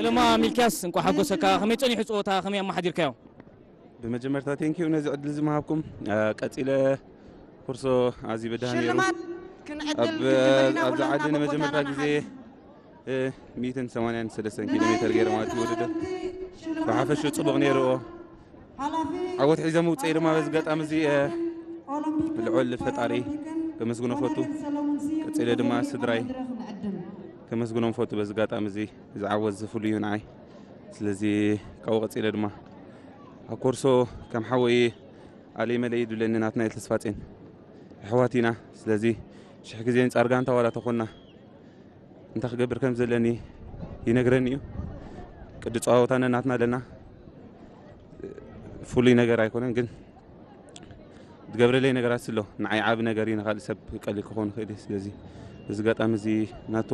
ለማ ሚልኪያስ፣ እንኳ ሓጎሰካ። ከመይ ጸኒሑ ጸወታ፣ ከመይ ኣመሓዲርካዮ? ብመጀመርታ ቴንኪዩ ነዚ ዕድል ዝመሃብኩም። ቀፂለ ኮርሶ ኣዝዩ በዳህን ነይሩ። ሽልማት ክንዕድል ኣብ ክንጅምር ኢና። ኣብዚ ኩላትና ዓዲ ካብ ንመጀመርታ ቦታና ግዜ ንሓዝ። እ፣ ሚእትን ሰማንያን ሰለስተን ኪሎ ሜተር ገይረ ማለት እዩ ውድድር። ብሓፈሽኡ ፅቡቕ ነይርዎ። ዓወት ሒዘ ምውፀኢ ድማ በዚ ኣጋጣሚ እዚ እ፣ ልዑል ፈጣሪ ከመስግኖ ፈቱ። ቀፂለ ድማ ስድራይ ከመስግኖም ፈቱ። በዚ ኣጋጣሚ እዚ እዚ ዓወት እዚ ፍሉይ እዩ ንዓይ። ስለዚ ካብኡ ቀፂለ ድማ ኣብ ኮርሶ ከም ሓወይ ኣለይ መለይ ይድብለኒ ናትናኤል ተስፋጼን ኣሕዋት ኢና። ስለዚ ሽሕ ግዜ ንፃር ጋንታ ዋላ ተኾንና እንታይ ክገብር ከም ዘለኒ ይነግረኒ እዩ። ቅዲ ፀዋወታ ነናትና ኣለና። ፍሉይ ነገር ኣይኮነን ግን ዝገብረለይ ነገራት ኣሎ። ንዓይ ዓቢ ነገር እዩ፣ ንኻልእ ሰብ ቀሊል ክኸውን ይኽእል እዩ። ስለዚ እዚ ኣጋጣሚ እዚ ናቱ